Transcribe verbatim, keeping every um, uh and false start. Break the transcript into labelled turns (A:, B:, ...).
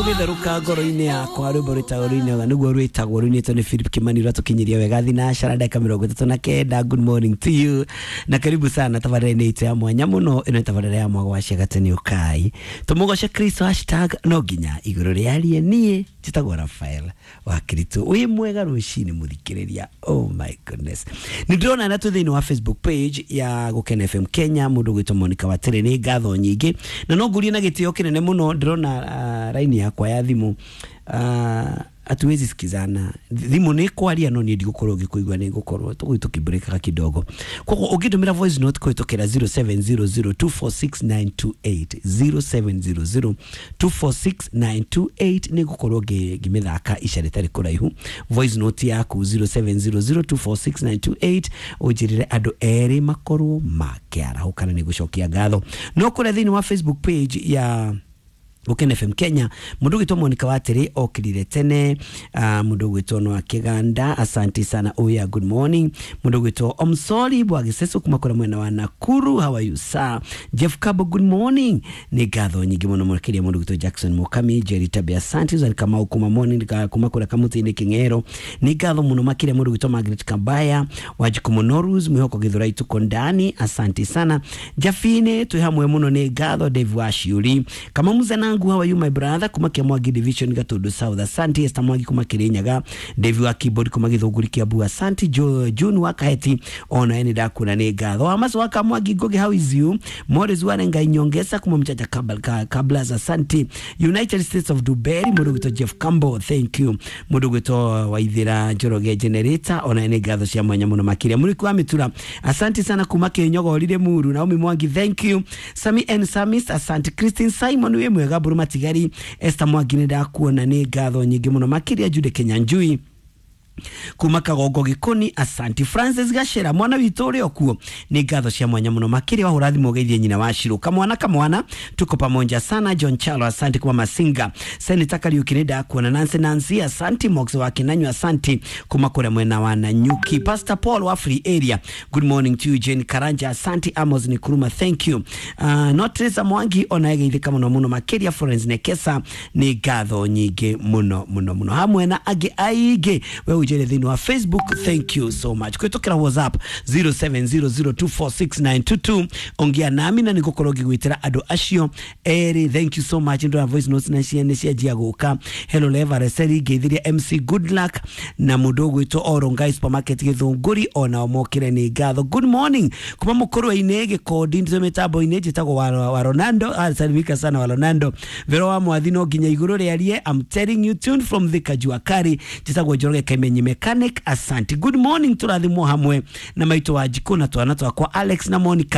A: Rũgĩtherũka ngoro-inĩ yakwa, rwĩmbo rwĩtagwo rũinaga nĩguo rwĩtagwo, rũinĩtwo nĩ Philip Kimani, rwatũkinyiria wega thinacara ndagĩka mĩrongo ĩtatũ na kenda. Good morning to you na karibu sana tabarĩra-inĩ itũ ya mwanya mũno. Ĩno nĩ tabarĩra ya Mwago wa Ciagatĩ, ũkai tũmũgoce Kristo, hashtag no nginya igũrũ rĩarie. Niĩ njĩtagwo Rafael wa Kristo. Wĩ mwega rũcinĩ mũthikĩrĩria. Oh my goodness, nĩ ndĩrona na twĩ thĩinĩ wa Facebook page ya Gũkena F M Kenya, mũndũ gwĩtwo Monica Watere, nĩ ngatho nyingĩ na no ngurie na gĩtĩo kĩnene mũno. Ndĩrona uh, raini yakwa ya thimũ uh, hatuwezi sikizana. Thimũ nĩ kwaria no niĩ ndigũkorwo ngĩkũigua, nĩ ngũkorwo tũgũi tũkĩmbũrĩkaga kidogo. Koguo ũngĩndũmĩra voice note kũhĩtũkĩra zero seven zero zero two four six nine two eight, zero seven zero zero two four six nine two eight, nĩ ngũkorwo ngĩmĩthaka ica rĩtarĩ kũraihu. Voice note yaku zero seven zero zero two four six nine two eight, ũnjĩrĩre andũ erĩ makorwo makĩarahũkana, nĩ gũcokia ngatho. No kũrĩa thĩinĩ wa Facebook page ya Gũkena F M Kenya, mũndũ ũgwĩtwo Monica Watĩrĩ okĩrire tene. uh, mũndũ ũgwĩtwo Noa Kĩganda, asante sana, oya, good morning. Mũndũ ũgwĩtwo Omsori Bwagiseso kuma kũrĩa mwena wa Nakuru, how are you, sir? Jeff Kabo, good morning, nĩ ngatho nyingĩ mũno makĩria. Mũndũ ũgwĩtwo Jackson Mukami, Jerry Tabia, asante. Susan Kamau kuma morning, kuma kũrĩa Kamũtĩ-inĩ Kĩng'ero, nĩ ngatho mũno makĩria. Mũndũ ũgwĩtwo Margaret Kabaya, Wanjiku Monorus, Mwĩhoko Gĩthũrai, tuko ndani, asante sana. Jafine, twĩ hamwe mũno, nĩ ngatho. Dave Washiuri Kama Muzana wangu, how are you, my brother? Kuma Kiamwangi Division, Gatundu South, asante. Esther Mwangi kuma Kirinyaga, Dave wa keyboard kuma Githunguri, Kiambu, asante. Jo June wa Kaheti, ona ene ndakuna, nĩ ngatho. Amaso wa Kamwangi Ngugi, how is you? Morris wa Ngai Nyongesa kuma Mchacha Kabla Kablas, asante. United States of Dubai, mũndũ gwĩtwo Jeff Campbell, thank you. Mũndũ gwĩtwo Waithira Njoroge Generator, ona ene ngatho cia mwanya mũno makĩria. Mũrĩku wa Mĩtura, asante sana kuma Kĩnyogorire Muru. Naomi Mwangi, thank you. Sami and Samis, asante. Christine Simon, wĩ mwega? Mburu Matigari, Esther Mwangi, nĩ ndakuona, nĩ ngatho nyingĩ mũno makĩria. Jude Kenyanjui kuma Kagongo Gikoni, asanti. Francis Gashera, mwana witũ ũrĩ okuo, nĩ ngatho cia mwanya mũno makĩria. Wahũra thimũ ũgeithie nyina wa Shiro, kamwana kamwana, tuko pamoja sana. John Chalo, asante kuma Masinga. Senator Kariuki, nĩ ndakuona. Nancy Nancy, asanti. Mox wa Kinanyu, asanti kuma kũrĩa mwena wa Nanyuki. Pastor Paul wa Free Area, good morning to you. Jane Karanja, asanti. Amos Nikuruma, thank you. uh, Notresa Mwangi ona egeithĩka mũno mũno makĩria. Florence Nekesa, nĩ ngatho nyingĩ mũno mũno mũno, hamwe na angĩ aingĩ we ũnjĩre thĩinĩ wa Facebook, thank you so much. Kũhĩtũkĩra WhatsApp zero seven zero zero two four six nine two two, ongea nami na nĩngũkorwo ngĩgwĩtĩra andũ acio erĩ. Thank you so much. Ndona voice notes na ciene cianjia gũka. Hello Levareseri, ngeithiria M C Good Luck na mũndũ ũgwĩtwo Orongai Supermarket Gĩthũngũri, onao mokĩre, nĩ ngatho. Good morning kuma mũkũrwe-inĩ Gĩkondi, ndĩ mĩtambo-inĩ njĩtagwo wa, wa Ronaldo, asalimika sana wa Ronaldo. Vero wa Mwathi, no nginya igũrũ rĩarie. I'm telling you, tuned from the Kajua Kari, njĩtagwo Njoroge Kaimenyi Mechanic, asante. Good morning, tũrathimwo hamwe na maitũ wa Njikũ na twana twakwa Alex na Monica.